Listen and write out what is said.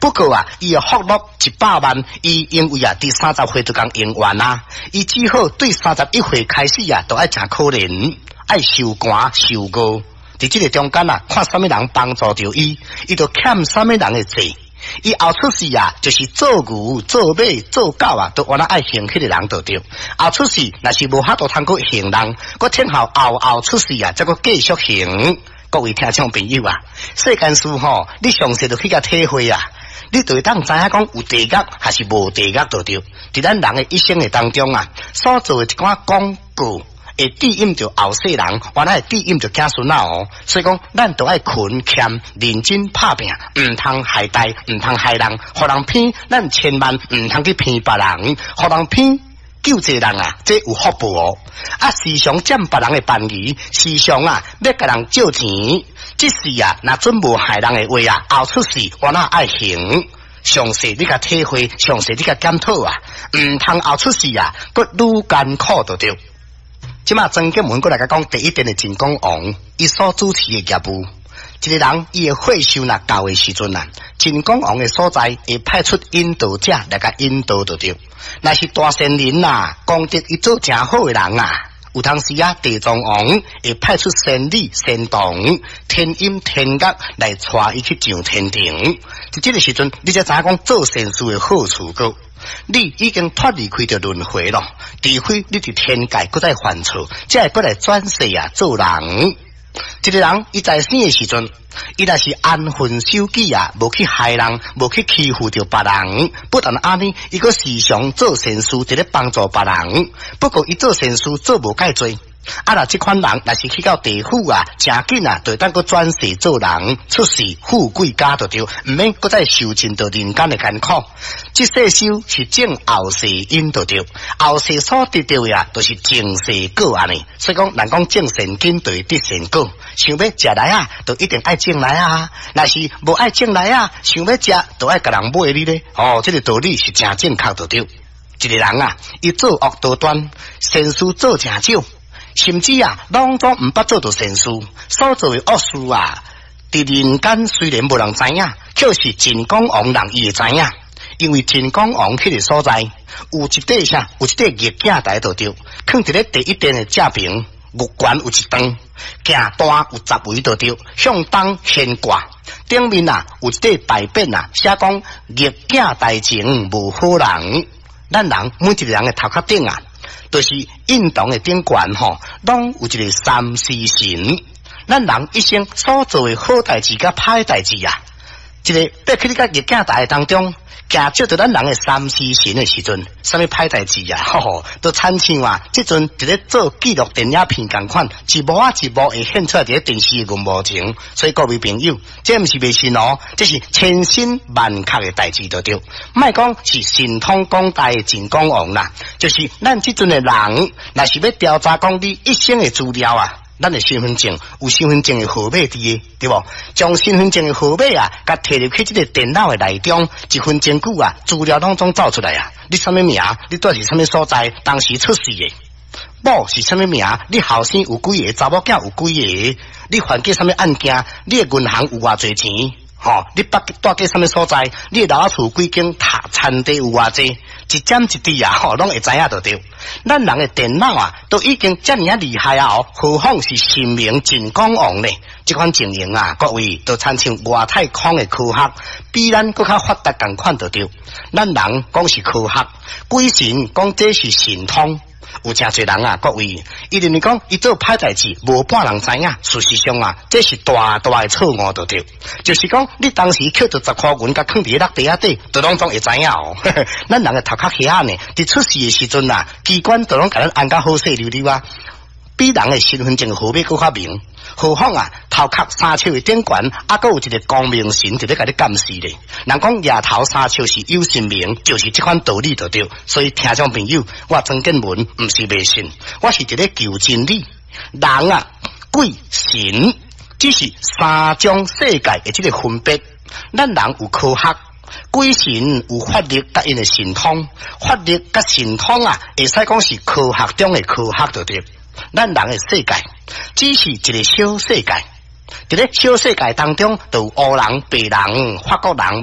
不過啊，伊的福祿100萬，伊因為啊，佇30歲就共用完啊，伊只好對31歲開始啊，就愛誠可憐，愛受寒受餓。佇這個中間啊，看啥物人幫助著伊，伊就欠啥物人的債。伊後出世啊，就是做牛、做馬、做狗啊，都原來愛還彼個人就對。後出世若是無法度通閣還人，閣聽候後後出世啊，才閣繼續還。各位聽眾朋友啊，世間事吼，你詳細就去共體會啊，你就會當知影講有地獄還是無地獄就對。佇咱人的一生的當中啊，所做的一寡廣告，會指引著後世人，原來會指引著子孫仔哦。所以講，咱都愛勤儉認真拍拚，毋通害代，毋通害人，予人騙，咱千萬毋通去騙別人，予人騙救濟人啊，這有福報哦。啊，時常佔別人的便宜，時常啊欲共人借錢，這世啊，若準無害人的話啊，後出世我哪愛還。詳細你共體會，詳細你共檢討啊，毋通後出世啊，閣愈艱苦就對。這馬曾建文閣來共講第一殿的淨光王，伊所主持的業務，一個人伊的歲數若夠的時陣啊，淨光王的所在會派出引導者來共引導就對。若是大善人啊，功德伊做誠好的人啊，有當時啊，地藏王會派出仙女、仙童、天音、天樂來帶伊去上天庭。佇這個時陣，你才知影講做善事的好處閣。你已經脫離開著輪迴咯，除非你佇天界閣再犯錯，才會閣來轉世啊做人。一個人伊在生的時陣，伊若是安分守己啊，無去害人，無去欺負著別人，不但按呢，伊閣時常做善事，佇咧幫助別人。不過伊做善事做無蓋濟。啊！若這款人若是去到地府啊，誠緊啊，就會當閣轉世做人，出世富貴家就對，毋免閣再受盡著人間的艱苦。這世修是種後世因就對，後世所得著的啊，就是前世果按呢。所以講，人講種善根就會得善果，想欲食梨仔，就一定愛種梨仔。若是無愛種梨仔，想欲食，就愛共人買你咧。哦，這個道理是誠正確就對。一個人啊，伊做惡多端，善事做誠少。甚至啊，攏總毋捌做著善事，所做的惡事啊，佇人間雖然無人知影，卻是淨光王人伊會知影，因為淨光王彼個所在有一塊啥，有一塊玉鏡台就對，囥佇咧第一殿的正爿，玉懸有一段，鏡單有10圍就對，向東懸掛，頂面啊有一塊牌匾啊，寫講玉鏡台前無好人，咱人每一個人的頭殼頂啊，就是印堂的頂懸吼，攏有一個三屍神。咱人一生所做的好代誌佮歹代誌啊，一個爬去你個玉鏡台當中，鏡照著咱人的三屍神的時陣，啥物歹代誌啊，吼吼，都親像啊，這陣佇咧做紀錄電影片仝款，一幕啊一幕會現出來佇咧電視的螢幕前。所以各位朋友，這毋是迷信哦，這是千真萬確的代誌就對。莫講是神通廣大的淨光王啦，就是咱這陣的人，若是欲調查講你一生的資料啊，咱的身份證有身份證的號碼佇的，對無？將身份證的號碼啊，共提入去這個電腦的內中，一分鐘久啊，資料攏總走出來啊。你啥物名？你住佇啥物所在？當時出世的某是啥物名？你後生有幾個？查某囝有幾個？你犯過啥物案件？你的銀行有偌濟錢？吼，你捌住過啥物所在？你的老厝幾間？田地有偌濟？一點一滴啊，吼，攏會知影就對。咱人的電腦啊，都已經遮爾仔厲害啊！哦，何況是神明淨光王呢？這款情形啊，各位都親像外太空的科學，比咱閣較發達仝款就對。咱人講是科學，鬼神講這是神通。有誠濟人啊，各位，伊認為講伊做歹代誌，無半人知影。事實上啊，這是大大的錯誤，就對。就是講，你當時抾著10箍銀，共囥佇咧落地仔底，就攏總會知影哦。咱人的頭殼遐呢，佇出世的時陣啊，機關就攏共咱按甲好勢溜溜啊，比人的身份證號碼閣較明。何況啊，頭殼3尺的頂懸，猶閣有一個光明神佇咧共你監視咧。人講額頭3尺是有神明，就是這款道理就對。所以聽眾朋友，我曾建文毋是迷信，我是佇咧求真理。人啊，鬼神，只是三種世界的這個分別。咱人有科學，鬼神有法力佮𪜶的神通，法力佮神通啊，會使講是科學中的科學就對。咱人的世界只是一個小世界，佇咧小世界當中，就有烏人、白人、法國人。